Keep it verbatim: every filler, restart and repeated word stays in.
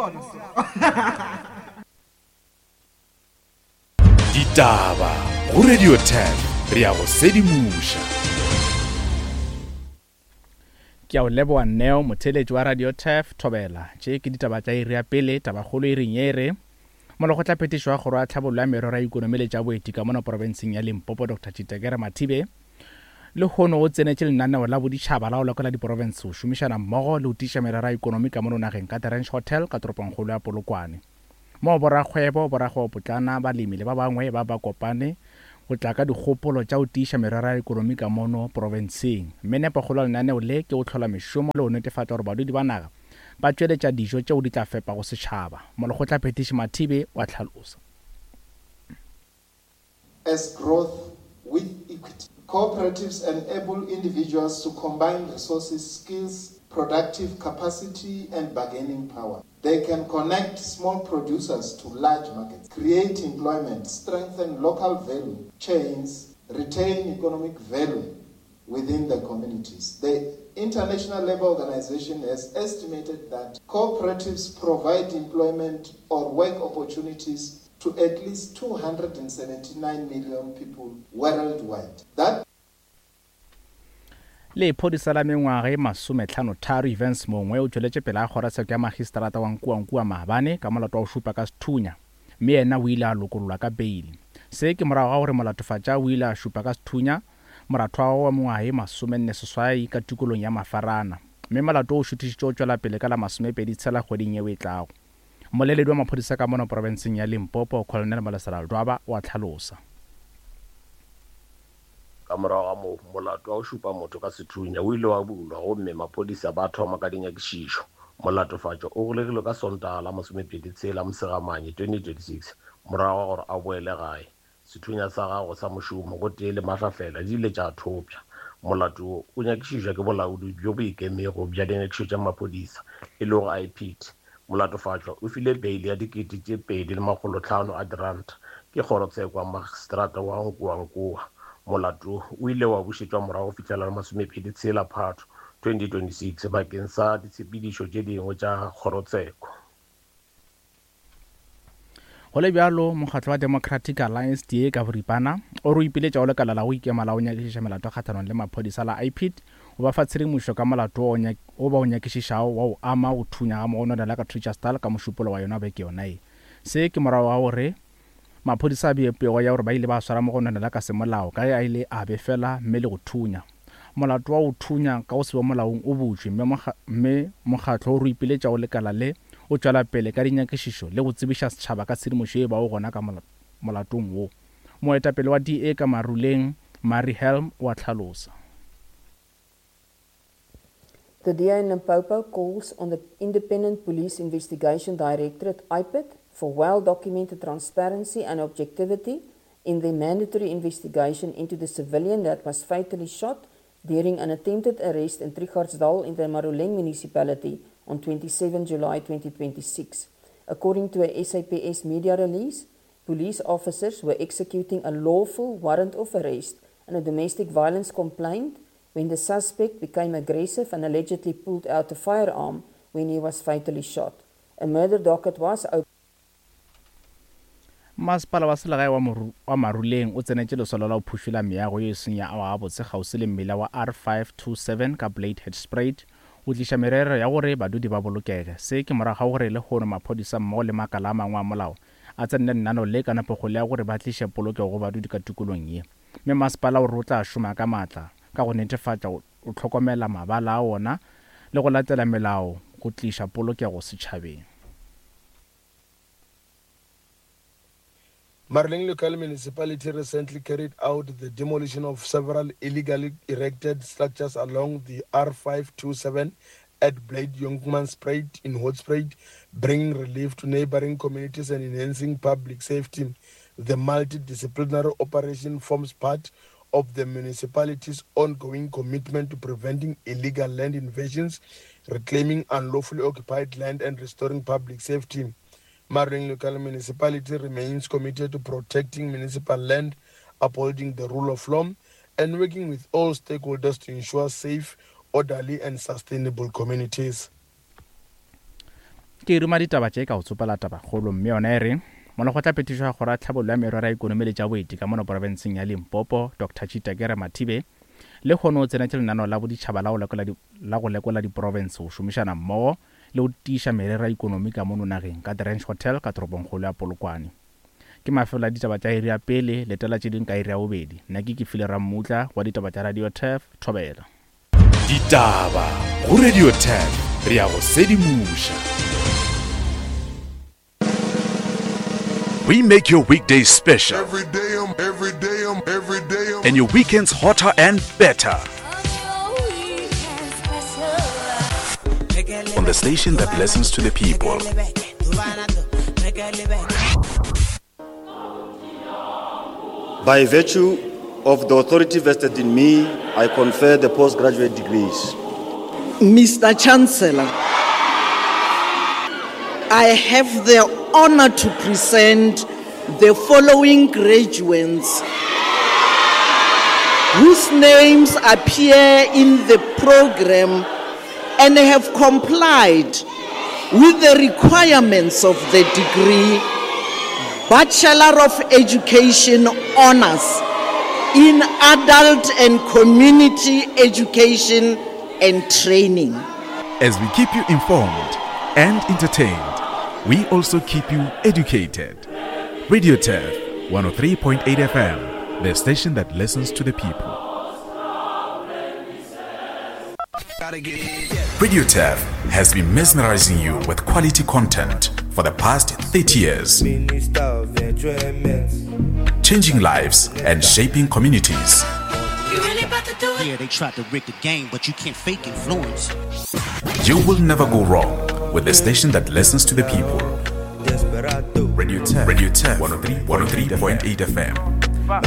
bona so. Ditaba go Radio ten re ya go sedimoša. Ke a o leboa Neo, motheeletši wa Radio Turf Thobela. Tše ke ditaba tša iri ya pele, tabakgolo e reng ye re Molekgotlaphethiši wa Kgoro ya Tlhabollo ya Merero ya Ikonomi le tša Boeti ka mono profenseng ya Limpopo Doctor Chitekere Mathibe lehono o tsenetše lenaneo la boditšhaba la go lekola diprofense go šomišana mmogo le go tiiša merero ya ikonomi ka mono nageng ka The Ranch Hotel ka toropongkgolo ya Polokwane. Moo borakgwebo, borakgwebopotlana, balemi le ba bangwe ba ba kopane go tla ka dikgopolo tša go tiiša merero ya ikonomi ka mono profenseng. Mme nepokgolo ya lenaneo le ke go hlola mešomo le go netefatša gore badudi ba naga ba tšweletša dijo tšeo di tla fepago setšhaba. Molekgotlaphethiši Mathibe wa hlalosa. As growth with equity. Cooperatives enable individuals to combine resources, skills, productive capacity and bargaining power. They can connect small producers to large markets, create employment, strengthen local value chains, retain economic value within the communities. The International Labour Organization has estimated that cooperatives provide employment or work opportunities to at least two hundred seventy-nine million people worldwide. That Lephodisa la mengwaga e masometlhano tharo Evans Mongwe o tšweletše pele ga kgorotsheko ya magistrata wa Nkuankua maabane ka molato wa go šupa ka sethunya, mme yena o ile a lokollwa ka beile. Se ke morago ga gore molatofatša o ile a šupa ka sethunya moratho wa gagwe wa mengwaga e masomenne seswai ka tikolong ya Mafarana, mme molato o šuthišitše o tšwela pele ka la masomepedi tshela kgweding yeo e tlago. Mmoleledi wa maphodisa ka mono profenseng ya Limpopo Colonel Malesela Ledwaba wa hlalosa. Ka morago ga moo, molato wa go šupa motho ka sethunya o ile wa bulwa gomme maphodisa ba thoma ka dinyakišišo. Molatofatšo o golegilwe ka Sontaga la masomepedi tshela Mosegamanye twenty twenty-six morago ga gore a boele gae. Sethunya sa gagwe sa mošomo gotee le mahlahlela di ile tša thopša. Molato wo o nyakišišwa ke bolaodi bjo bo ikemego bja dinyakišišo tša maphodisa e lego I P D. Molatofatšwa o file beile ya dikete tše pedi le makgolo hlano a diranta ke kgorotsheko ya magistrata wa Nkuankua. Molato o ile wa bušetšwa morago fihlela la masomepedi tshela Phato twenty twenty-six bakeng sa ditshepedišo tše dingwe tša kgorotsheko. Go le bjalo, mokgatlo wa Democratic Alliance D A ka boripana o re o ipiletša go lekala la go ikema la go nyakišiša melato kgahlanong le maphodisa la I P D go ba fa tshedimošo ka molato wo ba o nyakišišago wa go ama go thunya ga mogononela ka Treacherstal ka mošupolo wa yona beke yona ye. Se ke morago ga gore maphodisa a bee pego ya gore ba ile ba swara mogononela ka semolao ka ge a ile a befela mme le go thunya. Molato wa go thunya ka go se be molaong o butšwe mme mokgatlo o re o ipiletša go lekala le o tšwela pele ka dinyakišišo le go tsebiša setšhaba ka tshedimošo ye bago gona ka molatong wo. Moetapele wa D A ka Maruleng, Mary Helm, wa hlalosa. The D A in Limpopo calls on the Independent Police Investigation Directorate, I P I D, for well-documented transparency and objectivity in the mandatory investigation into the civilian that was fatally shot during an attempted arrest in Trichardsdal in the Maruleng municipality on twenty-seventh July twenty twenty-six. According to a S A P S media release, police officers were executing a lawful warrant of arrest and a domestic violence complaint when the suspect became aggressive and allegedly pulled out a firearm when he was fatally shot. A murder docket was opened. Masepala wa selegae wa Maruleng o tsenetše lesolo la go phušola meago ye e seng ya agwa gabotse kgauswi le mmila wa R five two seven ka Bladehead Spruit go tliša merero ya gore badudi ba bolokege. Se ke morago ga gore lehono maphodisa mmogo le makala a mangwe a molao a tsenele lenaneo le ka nepokgolo ya gore ba tliše polokego go badudi ka tikolong ye. Mme masepala o re o tla šoma ka maatla ka go netefatša o hlokomela mabala a ona le go latela melao go tliša polokego setšhabeng. Maruleng Local Municipality recently carried out the demolition of several illegally erected structures along the R five two seven at Blade Jongmanspruit in Hoedspruit, bringing relief to neighboring communities and enhancing public safety. The multidisciplinary operation forms part of the municipality's ongoing commitment to preventing illegal land invasions, reclaiming unlawfully occupied land, and restoring public safety. Maruleng Local Municipality remains committed to protecting municipal land, upholding the rule of law, and working with all stakeholders to ensure safe, orderly, and sustainable communities. Ke ruma ditaba tše ka go tsopela tabakgolo mme yona e re molekgotlaphethiši wa kgoro ya tlhabollo ya merero ya ikonomi le tša boeti ka mono porofenseng ya Limpopo Doctor Chitakere Mathibe le kgone o tsenetše lenaneo la boditšhaba la go lekola la go lekola diprofense go šomišana mmogo le go tiiša merero ya ikonomi ka mono nageng ka The Ranch Hotel ka toropongkgolo ya Polokwane. Ke mafelo a ditaba tša iri ya pele, letela tše ding ka iri ya bobedi. Nna ke Kefile Rammutla wa ditaba tša Radio Turf, Thobela. Ditaba go Radio Turf, re ya go sedimoša. We make your weekdays special. Every day, I'm, every day, I'm, every day, I'm. And your weekends hotter and better. On the station that listens to the people. By virtue of the authority vested in me, I confer the postgraduate degrees. Mister Chancellor, I have the honor to present the following graduates whose names appear in the program and have complied with the requirements of the degree Bachelor of Education Honors in Adult and Community Education and Training. As we keep you informed and entertained, we also keep you educated. Radio Turf, one oh three point eight F M, the station that listens to the people. Radio Turf has been mesmerizing you with quality content for the past thirty years. Changing lives and shaping communities. Yeah, they tried to rig the game, but you can't fake influence. You will never go wrong with the station that listens to the people. Radio Turf, Radio Turf, one oh three point eight F M.